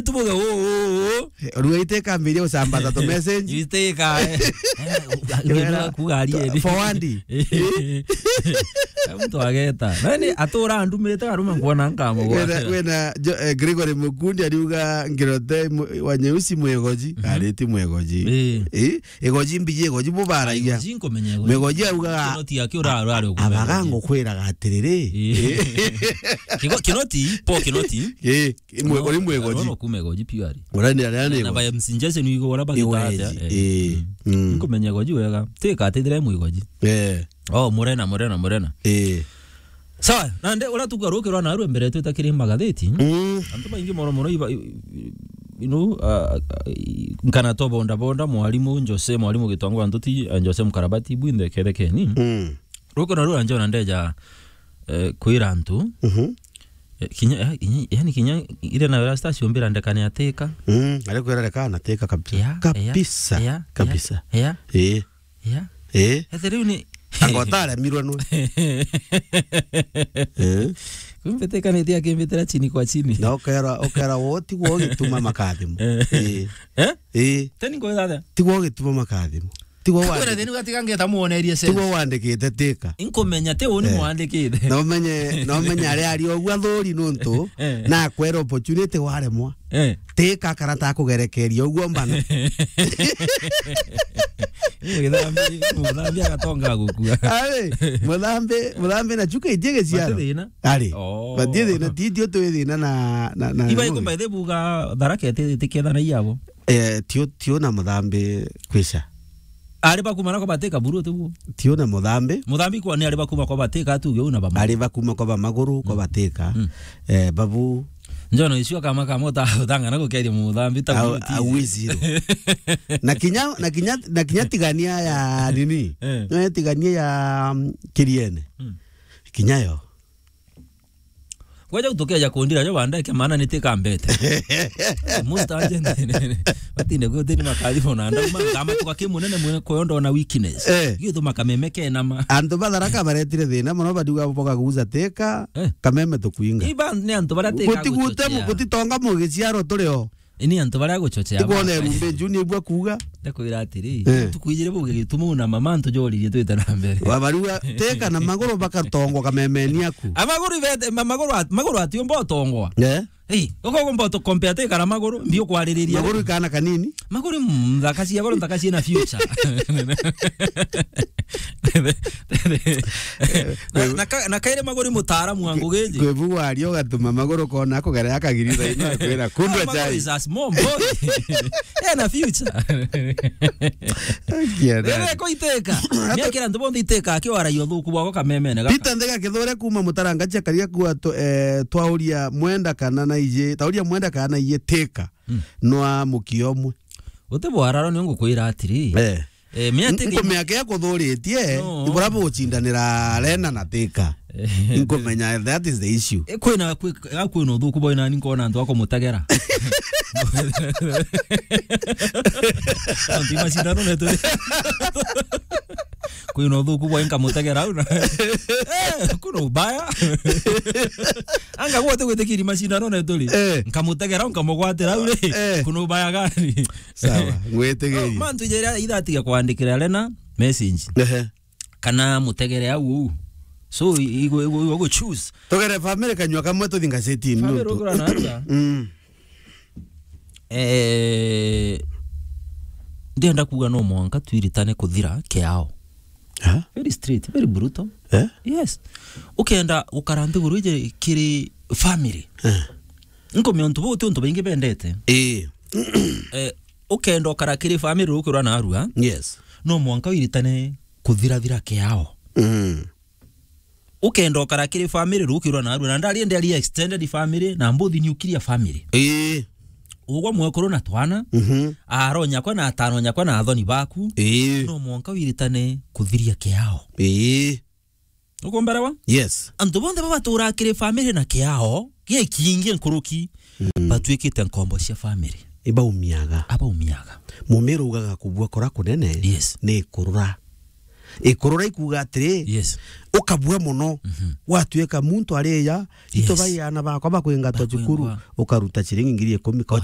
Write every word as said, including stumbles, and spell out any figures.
Tubuge, "Ũ, ũ, ũ." Eh, rua iteka mbiria usambaza tu message. Iteka, eh. Eh, Wera, kuga arieni. Forward. Eh. Mtu ageta. Nani atura ndumite aruma nkuona nkamo. Wena, wena, jo-, eh, Gregory Mukundi ariuga, "Ngirote mu-, wa Nyeusi mwegoji." Mhm. Ari ti mwegoji. Eh. Eh, egoji mbiji egoji bubaragia. Egoji nkumenya egoji. Mwegoji auga, Kinoti akio ra-, ra-, ra-, abaga ngukwiraga atiriri. Eh. Kigo-, Kinoti, po Kinoti. Eh. Mwe-, uri mwegoji. Arona kuma egoji piu ari. Ura ni aria ni na egoji. Ba M C Jason wigo ura bagita atia, eh. Eh. Mm. Mm. Nkumenya egoji wega. Teka atithire mwegoji. Eh. Oh, murena, murena, murena. Eh. Sawa, nande ura tugarukirwa na arwe mbere twita kiri magatheti. Mm. Antu baingi mono mono iba, i-, i-, you know, ah, ah, i-, nkana to bonda bonda, mwalimu Jose, mwalimu Gitwangu Antuti, ah, Jose Mukarabati, bwinthe kethekeni. Mm. Ruko na rura njona ndeja, eh, kwira antu. Mhm. Eh, kinya, eh, kinya, yani kinya ire na rasta ciumbira ndekane ateka. Mm, ari kwira ndekane ateka kabisa. Yeah, yeah, kabisa. Yeah, yeah, kabisa. Yeah. Eh. Yeah. Eh. Etheriu ni angotare mirwe nwe. Eh. Kumbe teka ni tia kimbitira chini kwa chini. Na ukera, ukera woti gwo gituma makathimo. Eh. Eh. Eh. Eh? Teni ngo thatha. Tigwo gituma makathimo. Tigwo kwira wandikite. Thini gatiga ngeta muonerie sense. Tigwo wandikite teka. Inkumenya ti uni eh. Mwandikite. Na umenye, na umenye ari ari ogwa thuri nuntu eh. Na kwera opportunity waremwa. Eh. Teka karata kugerekeria ogwo mbana. Muthambi, muthambi agatonga gukua. Ari, muthambi, muthambi na chuka itie giciaro. Bati thina. Ari. Oh. Bati thina, ti, ti utwi thina na, na, na iba ikumba ithe buga tharaka iti, iti kethana iabo. Eh, tio, tio na muthambi kwisha. Ari bakuma nako bateka buru tiguo. Tio na muthambi. Muthambi kwa ni ari bakuma kwa bateka tuge una bama. Ari bakuma kwa bamaguru, kwa mm. Bateka. Mm. Eh, babu. Njono icio kama kama uta-, utangana gukeria muthambi ta au, buru ti au wiziro. Na kinya, na kinya, na kinya tigania ya nini? Eh. Na tigania ya, mm, Kiriene. Mm. Kinya yo. Gweja gutukeja kundira jo bandeke maana ni tikambete. Musta agent. Batinde gutini makathimo na ndauma ngama tuka kimunene mwe koyo ndona weakness. Eh. Gituma kameme kenama. Antu ba Tharaka baretire thina mono badiuga boka guza teka, eh. Kameme tukuinga. Iba ni antu baria teka gutigute guchochea. Gutitonga mugiciaro turi o. Ini antu baria guchochea. Ikwona ba- erumbe juni ibwa kuuga. Ndakwira atiri, eh. Tukuijire buge gitumu na mama antu joririe twite na mbere. Wabarua teka na maguru bakatongwa kamemeni aku. A maguru ibete, ma-, maguru at-, maguru atiumba utongwa. Eh? Hey, uko gumba utu compare teka na maguru, mbio kwaririria. Maguru ikana kanini? Maguru, mm, nthaka cia goro, nthaka ciina future. Na, na ka-, na kaire maguri mutaaramu wa ngugi iji. Kwibu waria ugatuma maguru kona akugera akagiri thaino akwira, "Kundwa chai." Maguru is a small boy. Ena future. Akienda. Rere ko iteka. Niakira antu bonthe iteka akiwaragia uthuku bwako kamemene gaka. Peter Ndega Kithure kuma Mutaranga cia Karia kuwa tu-, eh, twauria mwenda kana na ije, tauria mwenda kana na ije teka. Mm. Nwa mukio umwe. Uti bwararo ni ngukwira atiri. Eh. Eh, mia N-, tiki nkumenya ke kuthuritie, no. Ibura bugucindanira Lena na Teka. Eh. Nkumenya that is the issue. Eh, kwina, kwi-, ah, kwina uthuku bwa nani nkona antu akumutegera. Antu macindano netu. Kwina uthuku bwa nkamutegera au na. Eh, kuna ubaya. Anga gwote gwitikiri macindano netu ri. Eh. Nkamutegera au nkamugwatira au ri. Eh. Kuna ubaya gani? Sawa, ngwitigiria. Mantu jera ithatiga kwandikira Lena message. Ehe. Kana mutegere au uu. So, igo, igo, igo, igo choose. Tugere family kanyua kamwe tuthi ngazetini. Family nuntu. Rugura na atia? Mm. Eh, ndienda kuuga no mwanka twiritane kuthira kiao. Ha? Very straight, very brutal. Eh? Yes. Ukenda gukara nthiguru ije kiri family. Eh. Nkomia untu buu ti untu baingi bendete. Ii. Eh, ukenda ukara kiri family rukirwa na arua. Yes. No mwanka wiritane kuthirathira kiao. Mm. Ukenda ukara kiri family rukirwa na arua. Na ndari ndari extended family na mbuthi nuclear family. Ii. Ugwa mwekuru na twana. Mhm. Aro nyakwa na atano nyakwa na athoni baku. Ii. No mwanka wiritane kuthiria kiao. Ii. Ukumberewa? Yes. Antu bonthe baba batura kiri family na kiao, gikingi nkuruki, mm, batwikite nkombo cia family. Ibaumiaga. Abaumiaga. Mumiru ugaga kubua kora kunene, yes, ni kurura. Ikurura ikuuga atiri, Yes. ukabua mono, Mhm. gwatuika muntu ariya, Yes. ito bai ana bakwa bakwingatwa Bakwingwa. cukuru, ukaruta ciringi ngiri ikumi kocho.